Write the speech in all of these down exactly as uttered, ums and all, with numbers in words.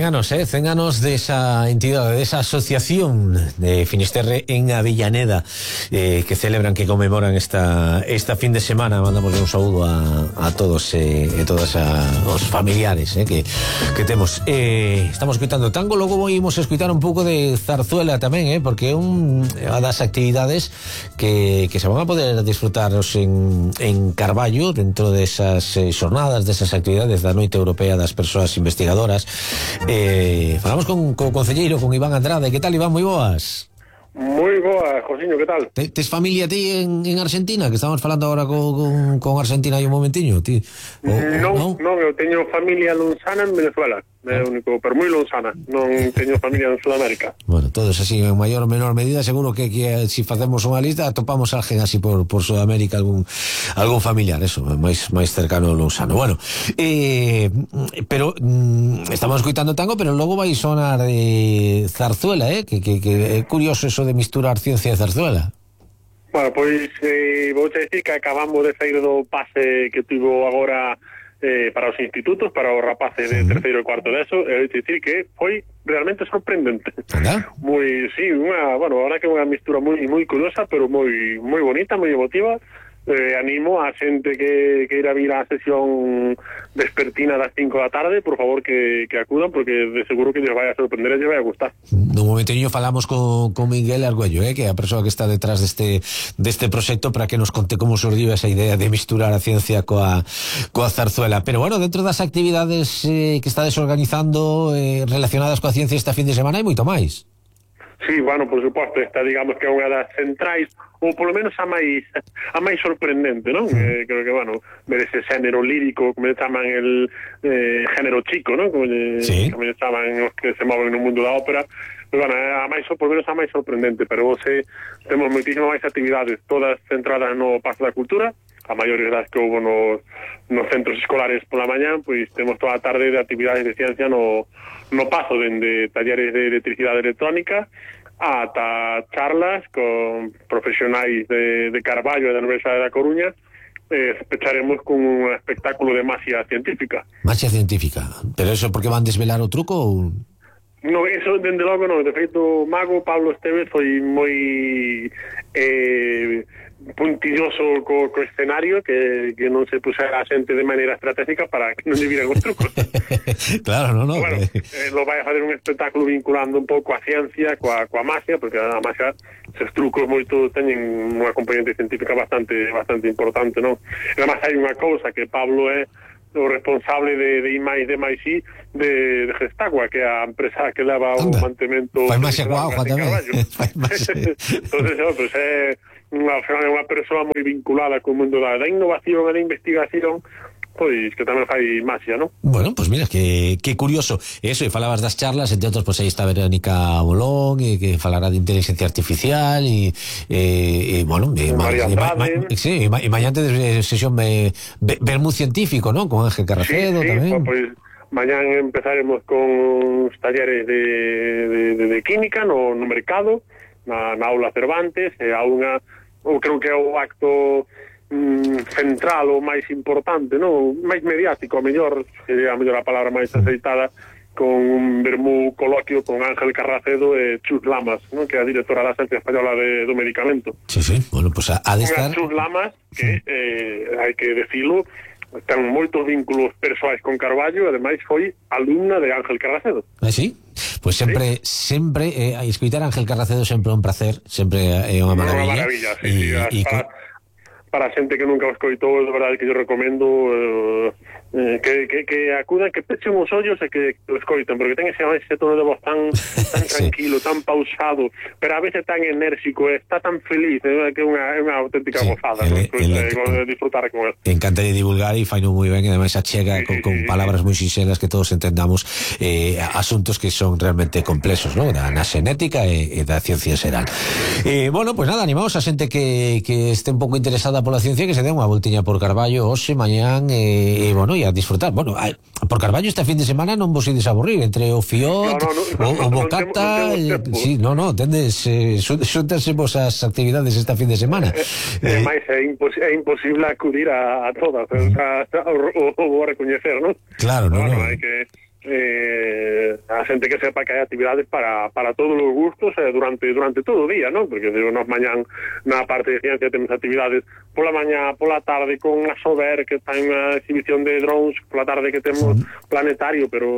cen anos, eh, cen anos desa entidade, desa asociación de Finisterre en Avellaneda, eh, que celebran, que conmemoran esta esta fin de semana. Mandamos un saúdo a, a todos eh, e todas a, os familiares eh, que, que temos. Eh, estamos escutando tango, logo vamos a escutar un pouco de zarzuela tamén, eh, porque é un, unha das actividades que, que se van a poder disfrutaros en, en Carballo, dentro desas eh, xornadas, desas actividades da Noite Europea das Persoas Investigadoras. Eh, falamos con o concelleiro, con Iván Andrade. Que tal, Iván? Moi boas. Moi boa, Josiño, que tal? Te, tes familia ti en, en Argentina? Que estamos falando agora con, con, con Argentina hai un momentiño, ti? O, non, non, non, eu teño familia lonzana en Venezuela. É o único, pero moi lonzana. Non teño familia en Sudamérica. Bueno, todos así en maior ou menor medida. Seguro que, que si facemos unha lista atopamos alguén así por, por Sudamérica, algún algún familiar, eso, máis máis cercano ao lonzano. Bueno, eh, pero mm, estamos escuitando tango, pero logo vai sonar eh, zarzuela, eh, que, que, que é curioso eso de misturar ciencia e zarzuela. Bueno, pois eh, vou te dicir que acabamos de sair do pase que tivo agora eh, para os institutos, para os rapaces de terceiro e cuarto de eso, e vou te dicir que foi realmente sorprendente. ¿Anda? Moi, sí, unha, bueno, ahora que é unha mistura moi moi curiosa, pero moi moi bonita, moi emotiva. Eh, animo a xente que, que irá vir á sesión vespertina das cinco da tarde, por favor que, que acudan, porque de seguro que lles vai a sorprender e lles vai a gustar. Nun momentiño falamos con, con Miguel Argüello, eh, que é a persoa que está detrás deste deste proxecto, para que nos conte como surdiu esa idea de misturar a ciencia coa, coa zarzuela. Pero bueno, dentro das actividades eh, que estades organizando eh, relacionadas coa ciencia esta fin de semana hai moito máis. Sí, bueno, por suposto, esta digamos que é unha das centrais, ou polo menos a máis a máis sorprendente, non? Mm. Eh, creo que, bueno, ver ese xénero lírico, como le chaman el eh, género chico, non? Como le, sí. como le chaman os que se moven no mundo da ópera. Pero, bueno, a máis, por lo menos a máis sorprendente, pero vose, temos moitísimas máis actividades, todas centradas no Pazo da Cultura, a maiores das que houve nos, nos centros escolares pola mañá, pois temos toda a tarde de actividades de ciencia no, no Pazo, dende talleres de electricidade electrónica ata charlas con profesionais de, de Carballo e da Universidade da Coruña. Eh, pecharemos con un espectáculo de magia científica. Magia científica? Pero eso porque van desvelar o truco ou... No, eso dende logo non. De feito, o mago Pablo Esteves foi moi eh, puntilloso co, co escenario, que, que non se pusera a xente de maneira estratégica para que non lle viran os trucos. Claro, non, non. Bueno, eh, lo vai a fazer un espectáculo vinculando un pouco a ciencia coa, coa magia, porque a magia, esos trucos moito teñen unha componente científica bastante bastante importante, non? E además hai unha cousa que Pablo é o responsable de, de I máis D máis I de, de Gestagua, que é a empresa que leva o mantemento. Fai máis guauja tamén. Entonces, no, pues, é unha, unha persoa moi vinculada co mundo da, da innovación e da investigación, pois que tamén fai magia, non? Bueno, pois pues mira, que, que curioso eso, e falabas das charlas, entre outros, pois pues, aí está Verónica Bolón, e que falará de inteligencia artificial, e, e, e bueno, e, María e, ma, ma, sí, e, ma, e mañante de sesión de vermú científico, non? Con Ángel Carracedo, sí, sí, tamén. Pois mañán empezaremos con os talleres de, de, de, de química no, no mercado, na, na aula Cervantes, e a unha, eu creo que é o acto central ou máis importante, non? Máis mediático, a mellor, sería a mellor a palabra máis aceitada, con un vermú coloquio con Ángel Carracedo e Chus Lamas, non? Que é a directora da Agencia Española de, do Medicamento. Sí, sí, bueno, pues a, a de estar... Chus Lamas, que, eh, hai que decilo, ten moitos vínculos persoais con Carballo, e ademais foi alumna de Ángel Carracedo. Ah, sí? Pois pues sempre, ¿sí? sempre, eh, a escoitar Ángel Carracedo sempre é un placer, sempre é unha maravilla. Unha maravilla, sí, e, sí, e para... Con... para a xente que nunca o escoitou, de verdade que yo recomendo eh, eh, que, que, que acudan, que pechen os ollos e que o escoiten, porque ten ese, ese tono de voz tan, tan tranquilo, sí, tan pausado, pero a veces tan enérxico, está tan feliz, eh, que é unha, unha auténtica sí, gozada, el, ¿no? el, el, de disfrutar con él. Encanta de divulgar e faino moi ben, e ademais achega sí, con, con sí, palabras moi sinxelas que todos entendamos eh, asuntos que son realmente complexos, ¿no? Da, na xenética e, e da ciencia xeral. Eh, bueno, pues nada, animamos a xente que, que este un pouco interesada pola ciencia, que se dé unha voltiña por Carballo hoxe, mañán, e, e bueno, e a disfrutar. Bueno, a, por Carballo esta fin de semana non vos ides a aburrir, entre o Fiot, no, no, no, o, o Bocata, no, no, no, sí, no, no, tendes, eh, xuntanse vos as actividades esta fin de semana. É, é, máis, é, impos, é imposible acudir a, a todas, mm. o, o, o, o recoñecer, non? Claro, no, bueno, no. Hai que... eh, a xente que sepa que hai actividades para, para todos os gustos eh, durante durante todo o día, non? Porque digo, nos mañán na parte de ciencia temos actividades pola mañá, pola tarde con a Sober, que está en unha exhibición de drones, pola tarde que temos sí. Planetario, pero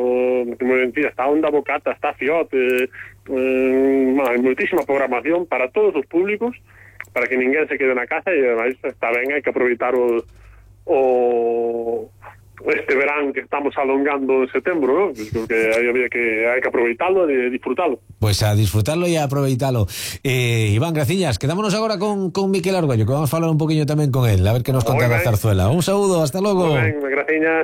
como mentira, está Onda Bocata, está Fiot, eh, eh, hai moitísima programación para todos os públicos, para que ninguén se quede na casa, e ademais está ben, hai que aproveitar o, o este verán que estamos alongando en setembro, ¿no? Creo que hay, había que, hay que aproveitarlo e disfrutarlo. Pues a disfrutarlo e a aproveitalo. Eh, Iván, graciñas. Quedámonos agora con, con Miquel Argüello, que vamos a falar un poquinho tamén con él, a ver que nos conta da zarzuela. Un saúdo, hasta logo. Muy ben, graciñas.